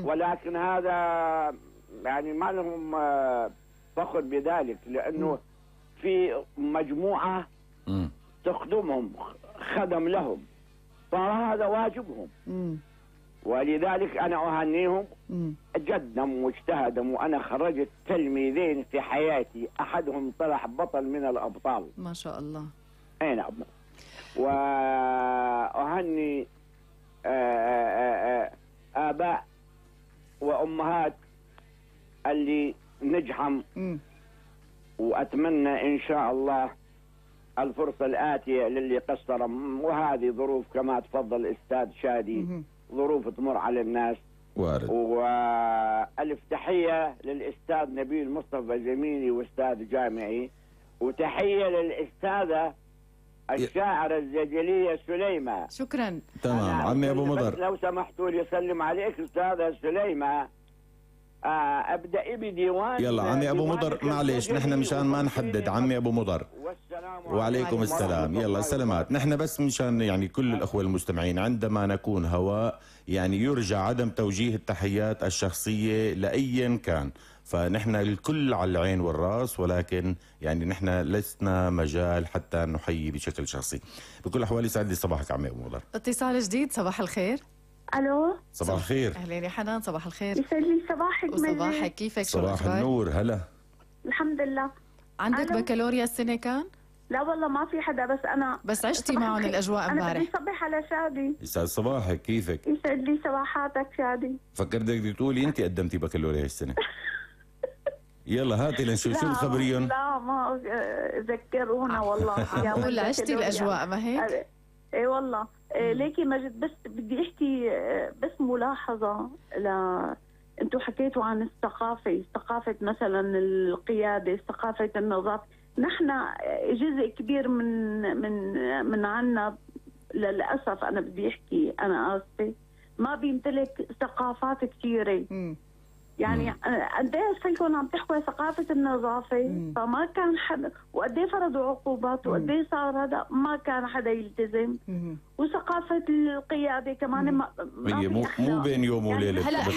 ولكن هذا يعني ما لهم فخر بذلك، لأنه في مجموعة تخدمهم، خدم لهم، فهذا واجبهم. ولذلك أنا أهنيهم جدا واجتهدوا، وأنا خرجت تلميذين في حياتي، أحدهم طلع بطل من الأبطال ما شاء الله. أي نعم. وأهني آباء وأمهات اللي نجحم، وأتمنى إن شاء الله الفرصة الآتية للي قصرهم، وهذه ظروف كما تفضل الأستاذ شادي، ظروف تمر على الناس. وارد. وألف تحية للأستاذ نبيل مصطفى زميلي وأستاذ جامعي، وتحية للأستاذة الشاعرة الزجلية سليمة. شكرا. تمام عمي أبو مضر، لو سمحتوا لي أسلم عليك أستاذة سليمة. أبدأ بديوان. يلا عمي أبو مضر، معلش نحن مشان ما نحدد عمي أبو مضر. وعليكم السلام. يلا سلامات. نحن بس مشان يعني كل الأخوة المستمعين، عندما نكون هواء يعني يرجى عدم توجيه التحيات الشخصية لأيا كان، فنحن الكل على العين والراس، ولكن يعني نحن لسنا مجال حتى نحيي بشكل شخصي. بكل الأحوال يسعد لي صباحك عمي أبو مضر. اتصال جديد. صباح الخير. الو صباح الخير. اهلين يا حنان. صباح الخير. يسعد لي صباحك. وصباحك، كيفك؟ صباح النور. هلا. الحمد لله. عندك بكالوريا السنة كان؟ لا والله ما في حدا، بس أنا بس عشتي معهم الأجواء امبارح. أنا بدي صبح على شادي. يسعد صباحك، كيفك؟ يسعد لي صباحاتك شادي. فكرت بدك تقولي أنت قدمتي بكالوريا السنة. يلا هاتي لنشوف شو الخبريون. لا ما ذكرونا والله. قول عشتي الأجواء ما هيك؟ اي والله. ليكي مجد، بس بدي احكي بس ملاحظة. انتوا حكيتوا عن الثقافة، ثقافة مثلا القيادة، ثقافة النظافة. نحن جزء كبير من عنا للأسف، أنا بدي احكي، أنا آسفة، ما بيمتلك ثقافات كثيرة. يعني قديش فيكم عم تحكوا ثقافة النظافة، فما كان حدا، وقديه فرضوا عقوبات، وقديه صار هذا، ما كان حدا يلتزم. وثقافة القيادة كمان ما مو بين يوم وليلة.